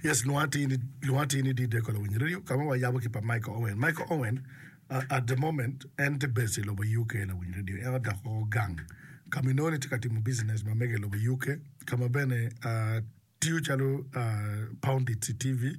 Yes, lwonga atir ni, lwonga atir ni Dideko Lawiny Radio, ka ma wayabo ki pa Michael Owen. Michael Owen, uh, at the moment, en tye based i lobo UK, Lawiny Radio. En odok woko gang ka ma inongo ni tye ka timo business ma mege i lobo UK, ka ma bene uh, tiyo calo uh, pundit i TV,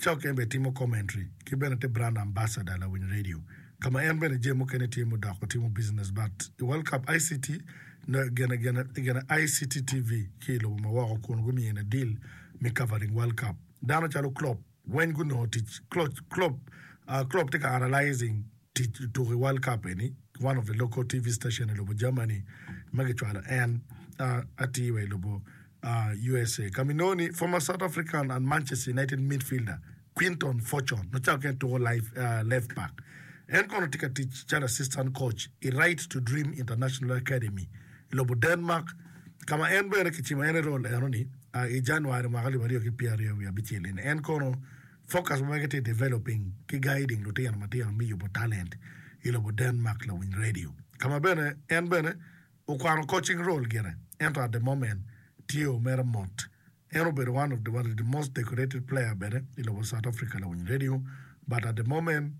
ca okene bene timo commentary, ki bene tye brand ambassador Lawiny Radio. Ka ma en bene jami mukene tye mudoko timo business but i World Cup ICT no gene gene gene ICT TV ki i lobo ma woko kun gumiyene deal me covering World Cup. Dano calo Klopp weng gunongo tic Klopp Klopp uh, Klopp tye ka analyzing tic tuko i World Cup eni one of the local TV station i lobo Germany ma gicwalo en uh, atir wa i lobo uh, USA. Ka ma inongo ni former South African and Manchester United midfielder Quinton Fortune ma cawa kene tuko left back. En kono tye ka tic calo assistant coach i Right to Dream International Academy i lobo Denmark ka ma en bene kicimo en i role enoni i January mwaka alip aryo ki pyeraryo wiye abicel eni. En kono focus ma mege tye i developing ki guiding lutino matino me yubo talent i lobo Denmark lawiny radio ka ma bene en bene okwano coaching role gire ento at the moment tye omere mot En obedo one of the one of the most decorated player bene i lobo South Africa lawiny radio but at the moment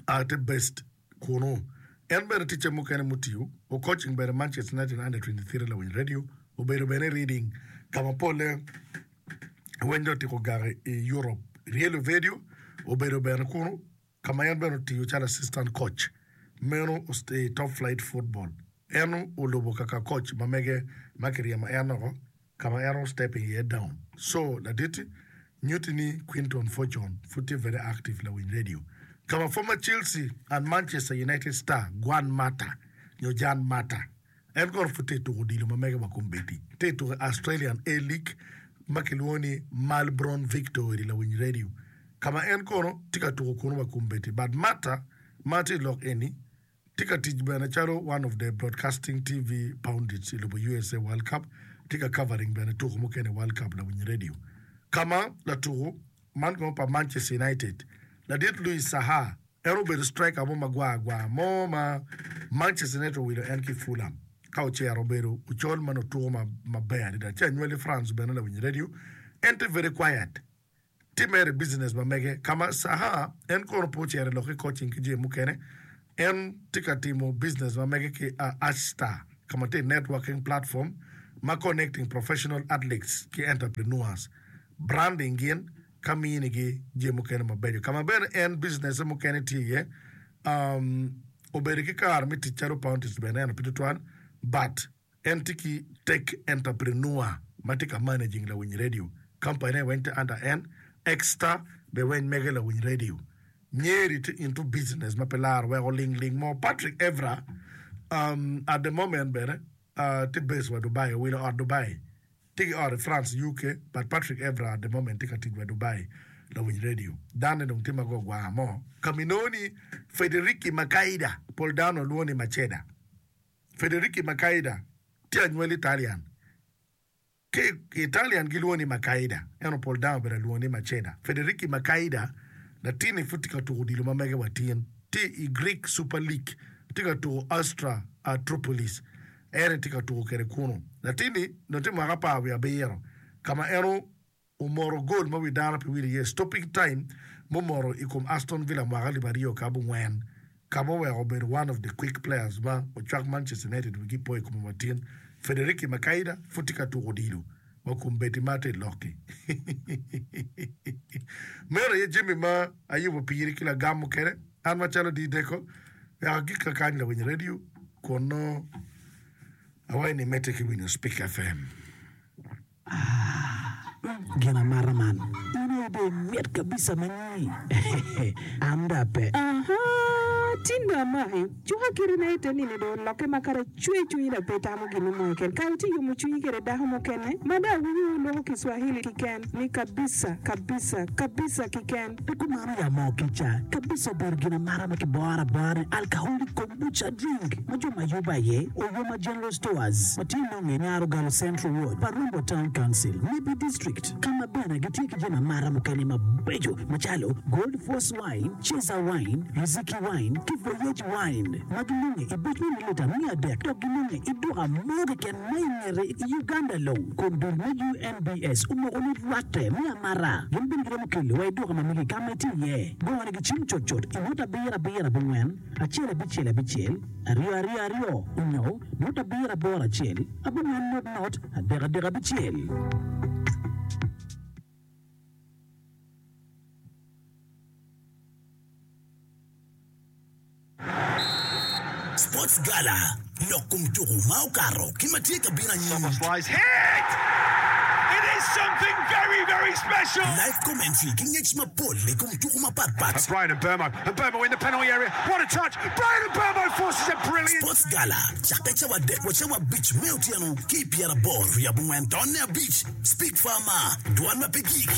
tye based kunu. En bene ticce mukene mutiyo o coaching bene Manchester United under 23 lawiny radio obedo bene i reading ka ma polle weny dong otyeko gako i Europe. Real Ovedio obedo bene kunu ka ma en bene otiyo calo assistant coach meno i top flight football. En olubo kaka coach ma mege ma kiryemo en oko ka ma en o stepping iye down. So ladit nyutti ni Quinton Fortune pud tye very active lawiny radio. Ka ma former Chelsea and Manchester United star Juan Mata nyo Jan Mata en kono pud tye tuko odilo ma mege wa kombeddi. Tye tuko i Australian A-League ma kilwongo ni Malbron Victory lawiny radio ka ma en kono tye ka tuko kunu wa kombeddi but Mata ma tye i lok eni Tye ka tic bene calo one of the broadcasting TV pundits i lobo usa World Cup, tye ka covering bene tuko mukene i World Cup lawiny radio. Ka ma latuko man kono pa Manchester United, ladit Louis Saha, en obedo striker mo magwar gwar mo ma Manchester United owilo en ki i Fulham ka ocero obedo ocol ma nongo tuko maber adada. Ci anywali France bene lawiny radio, en tye very quiet. Tye mere business ma mege ka ma Saha en kono pe ocero i lok ki coaching ki jami mukene. En tye ka timo business ma mege ki Archstar ka ma tye networking platform ma connecting professional athletes ki entrepreneurs, branding gin ka mini gi jami mukene mabeco. Ka ma bene en business mukene tye iye um, obedo ki kare me tic calo pundits bene ento pe tutwal but En tye ki tech entrepreneur ma tye ka managing lawiny radio company ne weng tye under en, Exter be weng mege lawiny radio. Nyeri tye into business ma pe laro weko ling ling mo. Patrick Evra um, at the moment bene uh, tye based wa Dubai, owilo ot Dubai. Tye ki ot i France, UK, but Patrick Evra at the moment tye ka tic wa Dubai lawiny radio. Danne dong tye ma go gwar mo. Ka ma inongo ni Federiki Makaida, pol dano lwongo ni Maceda. Federici Macaida tye anywali Italian. Ki i Italian gilwongo ni Macaida, ento pol dano obedo alwongo ni Maceda. Federici Macaida latinni pud tye ka tuko odilo ma mege wa tin. Tye i Greek Super League, tye ka tuko Astra Atropolis. En aye tye ka tuko kwede kunu. Latinni nongo tye mwaka apar wiye abiro ka ma en omoro gol ma wi dano pe wil iye, stopping time mumoro i kom Aston Villa mwaka alip aryo ki abongwen, ka ma oweko obedo one of the quick players ma ocwak Manchester United wigi po i kome wa tin. Federici Macaida pud tye ka tuko odilo wa kombeddi ma atye lok-ki. Meno aye jami ma ayubo piri ki lagam mukene. An macalo Dideko, wek agik kakany lawiny radio kun nongo awaco ni imedde ki winyo Speak FM. Aah gin amata man. In aye dong imit kabisa ma nyi an dong ape. Ahaa tin dong amaki. Cuka kiti na ite nini dong olokke ma kara cwer cwinyi dok pe itamo gin mo keken. Kara itye yomo cwinyi kede dako mukene ma dong awinyo wu loko Kiswahili kiken ni kabisa, kabisa, kabisa kiken. Pe kumano ya moo kica kabisa obedo gin amata ma kiboro abora ni alcoholic kombucha drink ma jo ma yubo aye Oyoma General Stores ma tye nonge i Nyarogalo Central Ward pa Rombo Town Council, Nebbi District ka ma bene gitye ki jami amata mukene mabeco macalo Gold Force Wine, Ceza Wine, Riziki Wine. ki Voyage Wine ma ginonge i buc me mililita 300 dok ginonge i duka mo keken ma i ngete i Uganda long kun dul me UNBS omoko ni rwatte me amata. Gin bene giromo kelo wa i duka ma megi ka ma itye iye. Gone gi cim cutcut i nota abiro abiro abongwen acel abicel abicel aryo aryo aryo onyo nota abiro aboro acel abongwen not not adek adek abicel. Sports Gala, Lok kom tuku ma okato ki ma tye ka bino anyim. Live commentary ki ngec mapol i kom tuku mapat pat. Sports Gala cakke cawa adek wa cawa abic me otyeno ki i pyeraboro wiye abongwen tonne abic. Speak Farmer, Dwan ma pe gik.